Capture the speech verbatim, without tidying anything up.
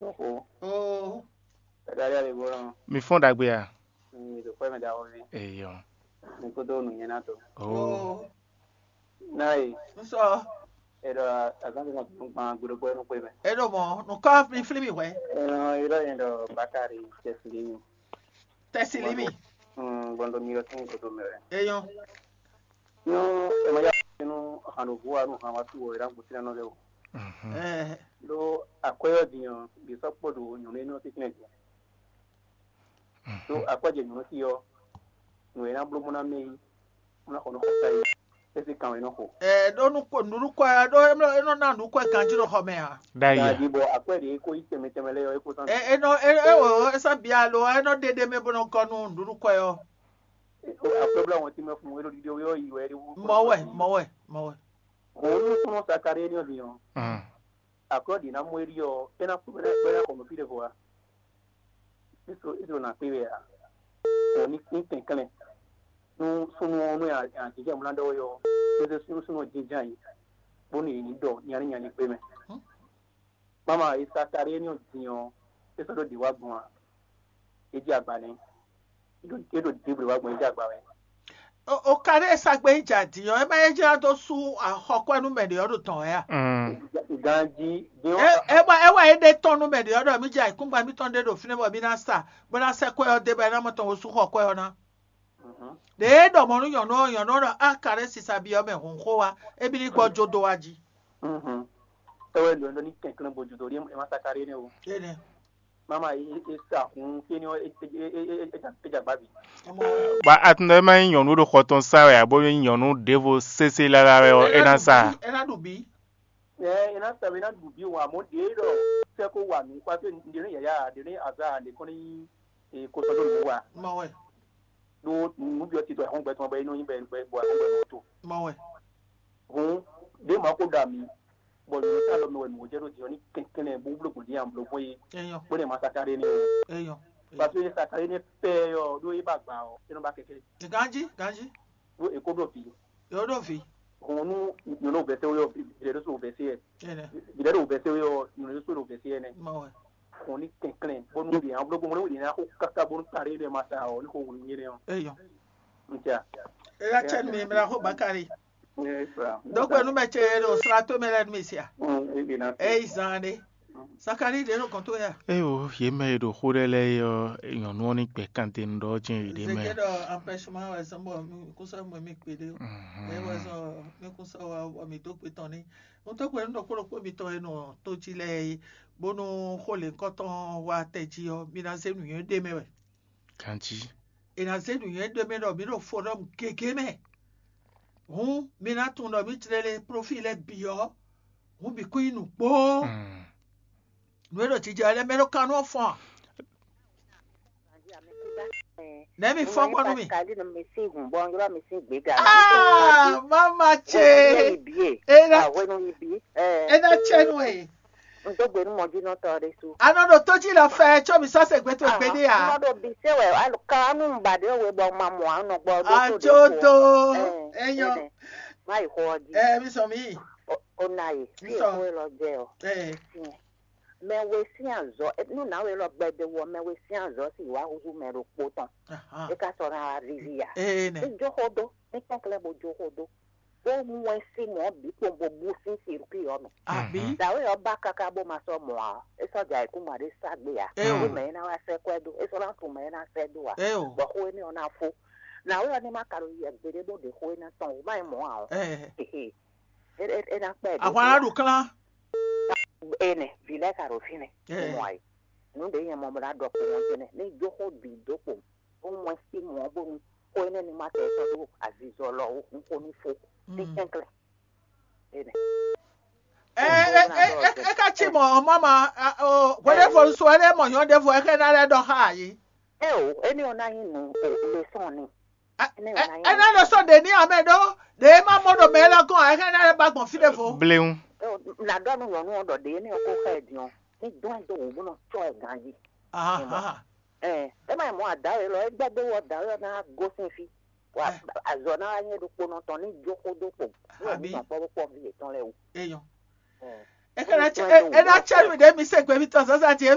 Oxo. Oo. Dadali aligbɔnɔ. Mi fɔ́n ɖagbe a? Mi do kpɛ mɛ da wɔvi. Eyɔ. Mi ko do nu nyɛ na to. Oo. Na yi. N sɔ. Eɖɔ azan ti ma tunu kpan gbeɖokpɔ ɛnu kpe mɛ. E ɖo mɔ nukɔ mi flí mi hwɛ. Ɛnɔ eɖɔ yɛn ɖɔ Bakari Tɛsili mi. Tɛsili mi. Hmm, gbɔndɔ mi yɔ sin ko do mɛ wɛ. Eyɔn. Nu ɛmɛ ya nu hanovu wa nu han wa tu wɔ ɛɖa gbɔsina nɔ lɛ o. Mhm. Ɛɛ. Ɖo akwɛyɔ din ɔ, bi sɔ kpɔ ɖo nyɔnu ɛnɛ ɔ tɛtɛnɛ din. Ɖo akwɛjɛ nyɔnu ti ɔ, nu e na bló mɔ na mɛ yi, mɔ na xɔ nɔ xɔ ta yi, esi kan wɛ nɔ xɔ. Ɛɛ ɖo nukɔ nuɖukɔ ya ɖo e nɔ na nukɔ ganji ɖo xɔ mɛ a? Ɖ'ayǐ a? Di bɔ akwɛ ɖe ko yi tɛmɛ tɛmɛ lɛ yɔ, e ko tán. Ɛ enɔ e e o esa bia lo enɔ ɖeɖe mɛ bɔ nɔ gɔ nu nuɖukɔ yɔ. Akwɛ bla wɔn ti mɛ fun, e ɖo ɖiɖi yɔ yi wɛ ɖi wu. Mɔwɛ mɔwɛ mɔwɛ. Hɔn nu kɔnɔ Sakari ɛnɛ ɔ din ɔ, Mm. akwɛ ɖi na mɔ eri ɔ, e na kú bɛ na kɔ nɔ fi ɖe vo wa. Iso iso na kpe wɛ a. Hɔn ni ni kɛnklɛn. Nu sunu ɔ nu ya ya jijɛ mla ɖɔ yɔ. Ese sunu sunu jijɛ yi. Bóni yi ɖɔ nyani nyani kpe mɛ. Mama Sakari ɛnɛ ɔ din ɔ, e sɔ ɖo ɖi wa gbɔn a. E ji agba nɛ. E ɖo e ɖo dibli wa gbɔn, e ji agba wɛ. O o ka ɖe sa gbe yi ja din ɔ e ma ye jla dó sú axɔkwɛ nú mɛ ɖe ɔ ɖo tɔn wɛ a? Mm. Ganji din E e wa e wa e ɖe tɔn nú mɛ ɖe ɔ ɖɔ mi ja ikúngba mitɔn ɖe ɖo fínɛ́ bɔ mi ná sa bó ná sɛ kwɛ ɔ dé bɔ e ná mɔ tɔn wo sú xɔ kwɛ ɔ ná. Ɖe e ɖɔ mɔ nú nyɔ̌nu ɔ nyɔ̌nu ɔ ɖɔ a ka ɖe sisa bi ɔ mɛ hǔn xó wa e bi ní gbɔ jó dó wa jí. Tɔwɛ lɔ lɔ ní kɛnklɛn bó judo ɖi ema Sakari ne o. Énɛ́. Mama e e sa hun kí ni e e e e e jagba bi. Ọmọ wẹ. Ba atundɔ ma nyí nyɔnu ɖo xɔ tɔn sa wɛ abo nyí nyɔnu ɖěvo sese lala wɛ ɔ, é ná sa. É ná ɖu bí. Ɛ e na sɛbɛ na ɖu bi wa mo ɖe ɖɔ sɛ ko wa nu kpa ke ɖe ne yaya ɖe ne aza ɖe kɔn ni e ko sɔ ɖo nu wa. Mɔ wɛ. Ɖo nu bi ɔ ti tɔ ɛhɔn gbɛtɔ bɛ inú yin bɛ bɛ bɔ ɛhɔn gbɛ to. Mɔ wɛ. Hun ɖe ma ko ɖa mi bɔ nu ta lɔ mi wɛ nu jɛ ɖo diɔ ni kɛnkɛn bó blo gbodi yan blo bó ye Eyɔn. Bó ne ma saka ɖe ni o. Eyɔn. Parce que saka ɖe ni pɛ yɔ ɖo e ba gba ɔ e nɔ ba kɛkɛ. Ganji ganji. Ɖo e ko ɖo vi. Yɔ ɖo vi. Hun nu nyɔnu vɛsɛ yɔ vi ɖe ɖo so vɛsɛ yɛ. Énɛ́. Vi ɖe ɖo vɛsɛ yɔ nyɔnu ɖo so ɖo vɛsɛ yɛ nɛ. Mɔ wɛ. Hun ni kɛnklɛn bó nu ɖe yan blo gbɔn mo ne wo ɖe na ko kaka bó nu ta ɖe ɖe ma sa ɔ ni ko wulu nyɛ nɛ ɔ. Eyɔn. N tia. Ela tsɛ mi mla xo bakari. Ɛ fra. Dɔgbe nu mɛ tse ɖo sra to mɛ lɛ nu mi sia. Hun e bi na. Eyi zan ɖe. Sakari ɖe ɖo kɔn to ya. Eyo, yě mɛ e ɖo xó ɖé lɛ́ɛ é ɔ́, nyɔ̌nu ɔ́ ní gbɛ̌ kantɛn ɖɔ jɛ́n yěɖée mɛ. Zeke ɖɔ empêchement wɛ zɔn bɔ mi kún sɔ mɔ mi kpe ɖe o. Eye wɛ zɔn mi kún sɔ wa bɔ mi dó gbe tɔn ní. Ŋutɔ gbe nu ɖokpó ɖokpó mitɔn e nɔ tó jí lɛ́ɛ é, bónú xó lěhunkɔtɔn wa tɛ jí ɔ́, mi ná zé nǔnywɛ́ ɖé mɛ wɛ. Ganjí. È nǎ zé nǔnywɛ́ ɖé mɛ ɖɔ mǐ ɖo fo ɖɔ́ gěgé mɛ. Hǔn mi ná tunwun ɖɔ mǐ jlé le prófíi lɛ́ɛ bǐ ɔ́, hǔn bǐ kún nyí nǔgbó. Mm. Nǔ e ɖo jijɛ lɛ́ɛ mɛ ɖó kan nú ɔ́ fɔ́n a? Nɛ̌ mi fɔ́n gbɔn nú mi? Kali nɔ mi sín hùn bɔ ylɔ́ mi sín gběga. Ah, mama ce. Ibi e. E ná Àwẹnu ibi e. e ná tsɛ nú ɛ. N dó gbe nú mɔjínɔtɔ ɖé sú. Anɔ ɖo tó jí lɔ fɛ tsɔ mi sɔ́ se gbé tó gbé ní N a. nɔ ɖo bi se wɛ alu ka nu ba ɖe we bɔ ma mɔ anɔ gbɔ ɖo tó ɖe Ajodo Ɛ, eyɔn. Má yi xɔ ɔ jí. Ɛ mi sɔ mi. O na yi. Fi Nsɔ. Ko lɔ jɛ o. Ɛ. Mɛ we sín azɔ nu na we lɔ gbɛdɛ wɔ mɛ we sín azɔ si wá huhu mɛ ɖo kpo tɔn. Ahan. E ka sɔ na wá vivi ya. Ee nɛ. Ní jó xó dó, ní kpɛ́klɛ́ bo jó xó dó. Bó mú wɛn sí mɔ̌ bǐ kpɔn bo bú sín sirkúi ɔ́ mɛ. Àbí. Mhm. Dǎwe ɔ́ ba káká bó ma sɔ́ mɔ ǎ. É sɔ́ jɛ ayǐkúngban ɖé sá gbé ǎ. É o. Bó mɛ é ná wá sɛ́ kwɛ́ dó. É sɔ́ ná tunwun mɛ é ná sɛ́ dó ǎ. É o. Bɔ xó énɛ́ ɔ́ ná fó. Nǎwe ɔ́ ní má ka ɖo yɛ gbeɖé bó ɖe xó énɛ́ tɔn wǔ má nyí mɔ̌ ǎ ɔ́. Ɛ. Hehe. É é é ná kpɛ ɖě Ahwan aɖu klán. Ene, vǐ lɛ́ɛ ka ɖo fínɛ́. Ɛ. Mɔ ayǐ. Nǔ ɖě nyɛ mɔ bó ná ɖɔ kpo ɔ́ jɛnɛ. Ní jó xó bǐ dó kpo. Ó mɔ sí mɔ̌ bónú xó énɛ́ ní má tɛ sɔ́ dó azizɔ lɔ ó, un xó ní fó. Ní Mm. kɛnklɛ́n. Ene. Ɛ ɛ ɛ ɛ ɛ ka tsi mɔ mama o wele fɔ sɔ ɛlɛ mɔ nyɔ ɖe fɔ ɛkɛ na lɛ dɔ xa yi. Ɛ o, éní ɔ́ ná nyí nǔ o, lésɔn ni. Ɛ ɛ ɛ na lɛ sɔ ɖe ní amɛ ɖo ɖe ma mɔ ɖo mɛ lɔ gɔn ɛkɛ na lɛ ba gbɔn fi ɖe fo. Bléwu. Ɛ o, nà ɖɔ nú nyɔ̌nu ɔ́ ɖɔ ɖě éní ɔ́ kó xá ɛ din ɔ́, ní dɔn ɛ dó wǔ bó nɔ cɔ́ ɛ ganjí. Aha. Ɛ, é má nyí mɔ̌ ǎ, dǎwe élɔ́ é gbɛ́ dó wɔ dǎwe ɔ́ ná gosín fí. Wa azɔ ná wá nyí ɖokpónɔ tɔn ní jó xó dó kpo. Ní wɛ Àbí? Mǐ nɔ kpɔ́ bó kpɔ́ vǐ yětɔn lɛ́ɛ wú. Eyɔn. Ɛ. É ná cɛ é ná cɛ nú ɖě mi se gběmítɔn zǎnzǎn ce